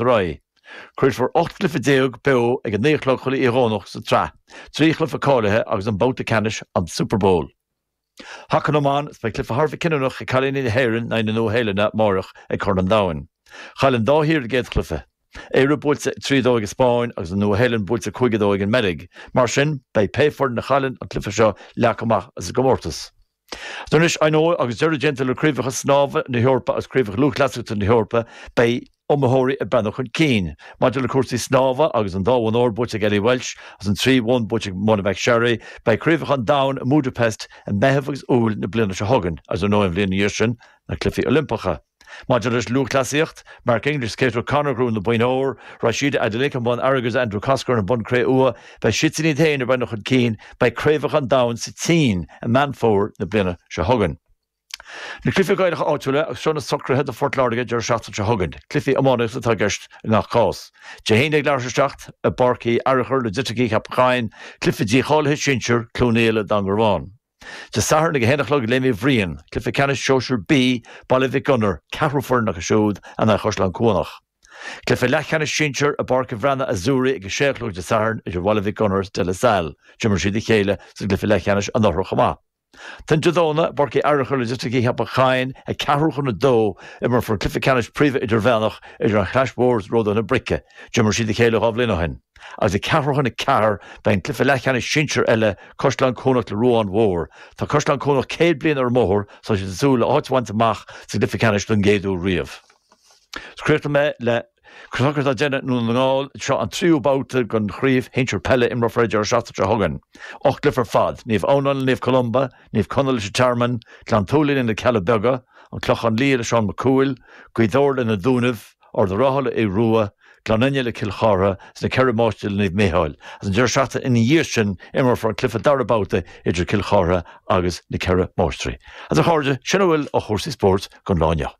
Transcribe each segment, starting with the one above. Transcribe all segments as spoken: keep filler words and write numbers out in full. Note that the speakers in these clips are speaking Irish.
ar aghaidh. Craolfar ocht gcluiche déag beo ag a naoi a chlog chuile oíche Dhomhnach sa tsraith, trí chluiche cáilithe agus an babhta ceannais, an Super Bowl. Haca na mBan, Beidh cluiche thar a bheith cinniúnach ag cailíní na hÉireann in aghaidh na Nua-Shéalainne amárach ag Corn an Domhain. Chaill an dá thír a gcéad chluiche. Éire buailte trí a dó ag an Spáinn agus an Nua-Shéalainn buailte cúig a dó ag an mBeilg. Mar sin, beidh pé foireann a chailleann an cluiche seo leagtha amach as an gcomórtas. Anois, ar ndóigh, agus deireadh déanta le craobhacha snámha na hEorpa agus craobhacha lúthchleasaíochta na hEorpa, beidh iomaitheoirí ag breathnú chun cinn. Maidir le cúrsaí snámha agus an dá bhonn óir buaite ag Ellie Welsh agus an trí bhonn buaite ag Mona McSharry, beidh craobhacha an domhain i mBudapest i Meitheamh agus Iúil na bliana seo chugainn, agus ar ndóigh an bhliain ina dhiaidh sin, na Cluichí Oilimpeacha. Maidir leis lúthchleasaíocht, Mark English, Kate O'Connor a ghnóthaigh na boinn óir, Rhasidat Adeleke an bonn airgid agus Andrew Coscoran an bonn cré-umha, beidh siadsan iad féin ag breathnú chun cinn, beidh craobhacha an domhain sa tSín i Meán Fómhair na bliana seo chugainn. Na cluichí Gaelacha áitiúla agus seo na socruithe do Phort Láirge deireadh seachtaine seo chugainn. Cluichí iománaíochta atá i gceist i ngach cás. Dé hAoine ag leathuair tar éis a seacht i bPáirc Uí Fhearchair le Ditricí Cheapach Choinn, cluiche dícháilithe sinsir, Cluain Fhaola, Dún Garbhán. Dé Sathairn ag a haon a chlog i Léim Uí Bhriain, cluiche ceannais sóisir B, Baile Mhic Gonair, ceathrú foireann acu siúd, in aghaidh Chaisleán Cuanach. Cluiche leathcheannais sinsir i bPáirc an Bhreathnaigh Azzurri ag a sé a chlog Dé Sathairn idir Bhaile Mhic Gonair is De La Salle. D'imir siad a chéile sa gcluiche leathcheannais anuraidh chomh maith. Ansin Dé Domhnaigh, i bPáirc Uí Fhearchair le Ditricí Cheapach Choinn, ag ceathrú chun a dó, imreofar an cluiche ceannais príomha idirmheánach idir an Chlais Mhór is Ródaithe na Brice. D'imir siad a chéile dhá bhliain ó shin. Agus ag ceathrú chun a ceathair, beidh an cluiche leathcheannais sinsir eile, Caisleán Cuanach le Ruán Mhór. Tá Caisleán Cuanach céad bliain ar an mbóthar, tá siad ag súil le áit a bhaint amach sa gcluiche ceannais don gcéad uair riamh. Críochnóidh mé le socruithe atá déanta i nDún na nGall, seo an tríú babhta den chraobh shinsir peile imreofar an deireadh seachtaine seo chugainn. Ocht gcluiche ar fad, Naomh Adhamhnáin le Naomh Columba, Naomh Conaill leis an Tearmann, Gleann tSúilí le Na Cealla Beaga, An Clochán Liath le Seán Mac Cumhaill, Gaoth Dobhair le Na Dúnaibh, Ard an Rátha le Aodh Rua, Gleann Fhinne le Cill Chartha, is na Ceithre Máistrí le Naomh Micheál. Agus an deireadh seachtaine ina dhiaidh sin imreofar an cluiche dara babhta idir Cill Chartha agus na Ceithre Máistrí. Agus a chairde, sin a bhfuil ó chúrsaí spóirt don lá inniu.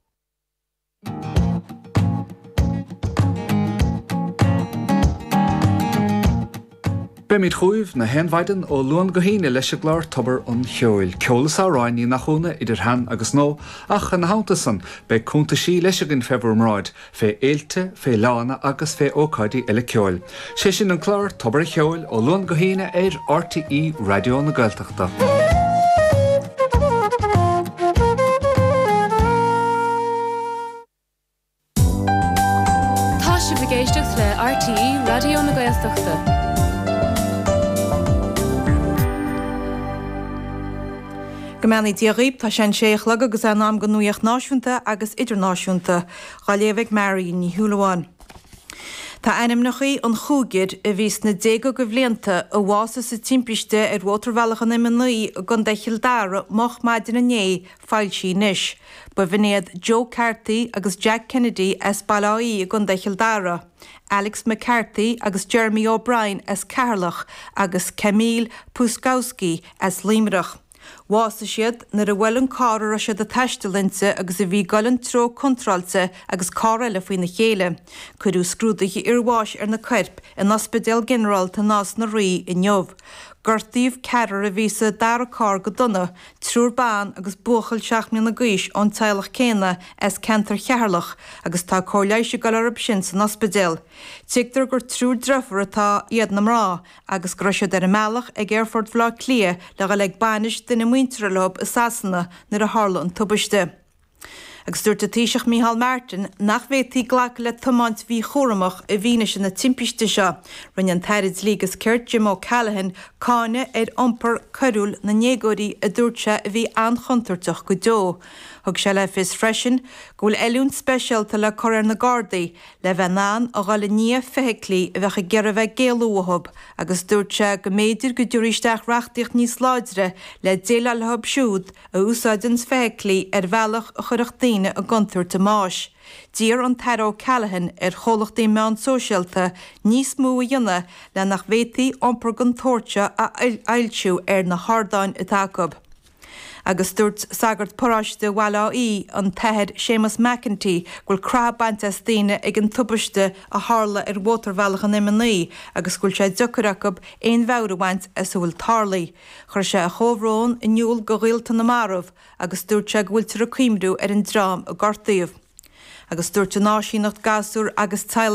Beimid chugaibh na haon mhaidin ó Luan go hAoine leis an gclár Tobar an Cheoil. Ceol is amhráin, ní nach ionadh, idir shean agus nua, ach ina theannta san, beidh cuntaisí leis againn fé bhur mbráid, fé fhéilte, fé fhleánna agus fé ócáidí eile ceoil. Sé sin an clár Tobar an Cheoil ó Luan go hAoine ar RTÉ Raidió na Gaeltachta. Tá sibh ag éisteacht le RTÉ Raidió na Gaeltachta. Go mbeannaí Dia dhaoibh, tá sé an sé a chlog agus é in am don nuaíocht náisiúnta agus idirnáisiúnta, dhá léamh ag Marion Ní Shúilleabháin. Tá ainmneacha an chúigir a bhí sna déaga de bhlianta a bhásaigh sa timpiste ar Mhótarbhealach an M a naoi i gContae Chill Dara moch maidin inné foilsithe anois. B'in iad Joe Carthy agus Jack Kennedy as Baile Átha Í i gContae Chill Dara, Alex McCarthy agus Jeremy O'Brien as Ceatharlach agus Kamil Pruskowski as Luimneach. Bhásaigh siad nuair a bhuail an carr a raibh siad ag taisteal inti agus a bhí ag dul an treo contráilte agus carr eile faoina chéile. Cuireadh scrúduithe iarbháis ar na coirp in Ospidéal Ginearálta Nás na Rí inniu. Gortaíodh ceathrar a bhí sa dara carr go dona, triúr ban agus buachaill seacht mbliana d'aois ón teaghlach céanna as ceantar Cheatharlach agus tá cóir leighis ag dul orthu sin san ospidéal. Tuigtear gur triúr deirfiúr atá iad na mná agus go raibh siad ar a mbealach ag Aerfort Bhaile Átha Cliath le dhul ag bainis duine muinteartha leo i Sasana nuair a tharla an tubaiste. Agus dúirt an Taoiseach Micheál Martin nach bhféadfaí glacadh le tiomáint mhíchúramach i bhfianaise na timpiste seo. Rinne an tAire Dlí agus Cirt Jim O'Callaghan cáineadh ar iompar coiriúil na ndéagóirí a dúirt sé a bhí an-chontúirteach go deo. Thug sé le fios freisin go bhfuil oiliúint speisialta le cur ar na Gardaí le bheith in ann a dhul i ndiaidh feithiclí a bheadh ag iarraidh a bheith ag éalú uathu agus dúirt sé go mb'fhéidir go dtabharfaí isteach reachtaíocht níos láidre le déileáil leo siúd a úsáideanns feithiclí ar bhealach a chuirfeadh daoine i gcontúirt a mbáis. D'iarr an tAire O'Callaghan ar chomhlachtaí meán sóisialta níos mó a dhéanamh le nach bhféadfaí iompar den tsórt seo a fhoilsiú ar na hardáin atá acu. Agus dúirt sagart paróiste Bhaile Átha Í, an tAthair Séamus McEntee, go bhfuil croitheadh bainte as daoine ag an tubaiste a tharla ar mhótarbhealach an M a naoi agus go bhfuil sé deacair acu aon mheabhair a bhaint as a bhfuil tarlaithe. Chuir sé a chomhbhrón in iúl do ghaolta na marbh agus dúirt sé go bhfuiltear ag cuimhniú ar an dream a gortaíodh. agus dúirt an áisíneacht gasúr agus teaghlaigh